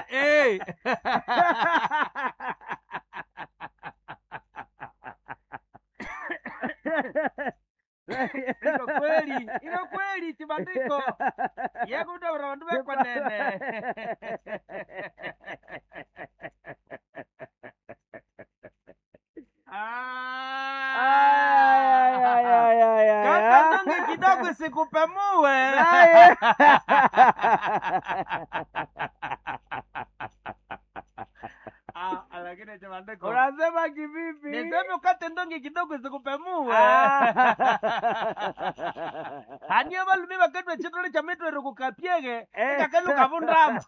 Hey. Iko kweli, iko kweli chibandiko yekutawura vandu vekwanene. Ay, ay, ay, ay, ay, Kaka ay. ndonge kidogo sikupemue. Aye. Ah, lakini chibandiko Unasema kivipi? niseme ukate ndonge kidogo sikupemue. Ah. Haniyo valume vakatwa chitole cha mitwero kukapyege Eh. ikakaluka vundama.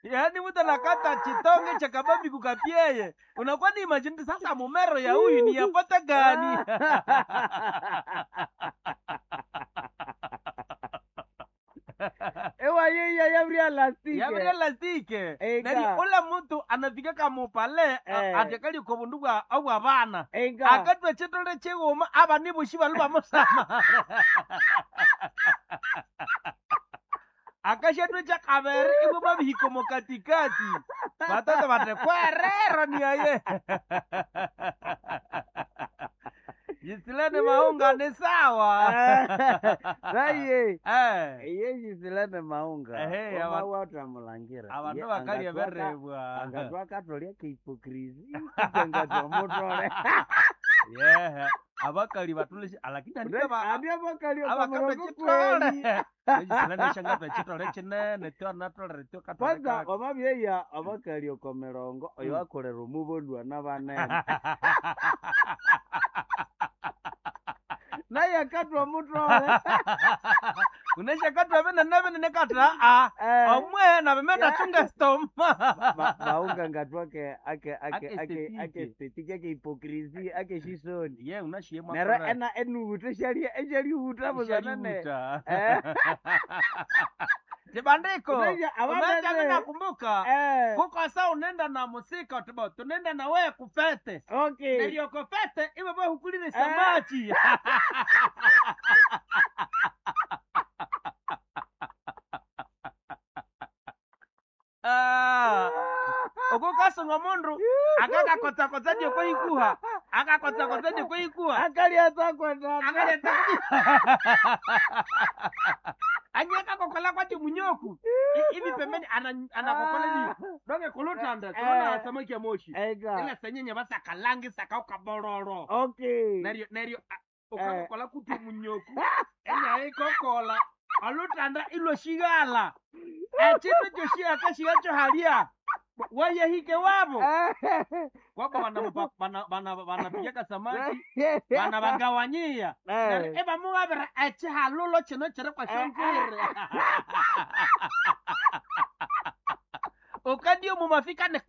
Yaani mtu anakata chitonge cha kabambi kukapyeye, unakuwa ni imagine sasa mumero ya huyu ni yapata gani? Ewa yeye yabria lastike. Yabria lastike. Eka. Nani ula mtu anafika kamupale Eh. atekali ko bundu bwa abwa bana. Enga. Akatwa chitole chighuma aba nibushi balu bamusama. Akashatwe cha kabere ibo babihiko mu katikati. Batata bate kwerero ni aye. Jisilene maunga ni sawa. Raye. Eh. Iye jisilane maunga. Ehe, Oma watamulangira. Abandu Ye bakalya angatwaka- berebwa. Angatwakatolya kehipokrisi. Angatwa mutole. Yeah. Abakali batuleshe lakini andika ba Andi abakali abakatwa okomurongo chitole. kweli. Jisilene shangatwa chitole chinene tyo natolere tyo katole Kwanza kaka. omabyeya abakali okomirongo oyo akolera omubondwa n'abanene. Naye akatwa mutole. Unashakatwa vene navene nekatra a Eh. omwe navimenda chunga stoma. Maunga ngatwake ake ake Ake ake ake estetike. estetike ake hipokrisi ake shisoni. Ye unashiye Nero ena enuhuta shali eshalihuta buzanane. Eh. Chibandiko. Unaja, abamene. Umeja mimi nakumbuka. Eh. Kuko sa unenda na musika tubo tunenda na wewe kufete. Okay. Ndio kufete iwe wewe hukulile samaki. Ah. Okukasunga mundu akakakotsa-kotsa ndio ikuha akakotsa-kotsa ndio ikuha Akali atakwenda. akaleta anyakakokola kwati munyoku ivi pembeni anakokola ni donge kulutanda tunaona Eh. samaki ya moshi Ega. ila senyenye basakalangi sakaukabororo Okay. neryo neryo ukakokola kuti munyoku enyaikokola olutanda ilwoshighala echindu kyoshiyaka shigacho halia wayehike wabo kwaba banapigaka samaki bana bagawanyia Eh. ebamuwabira echihalulo chino chiri kwashongwire ukadio mumafika ni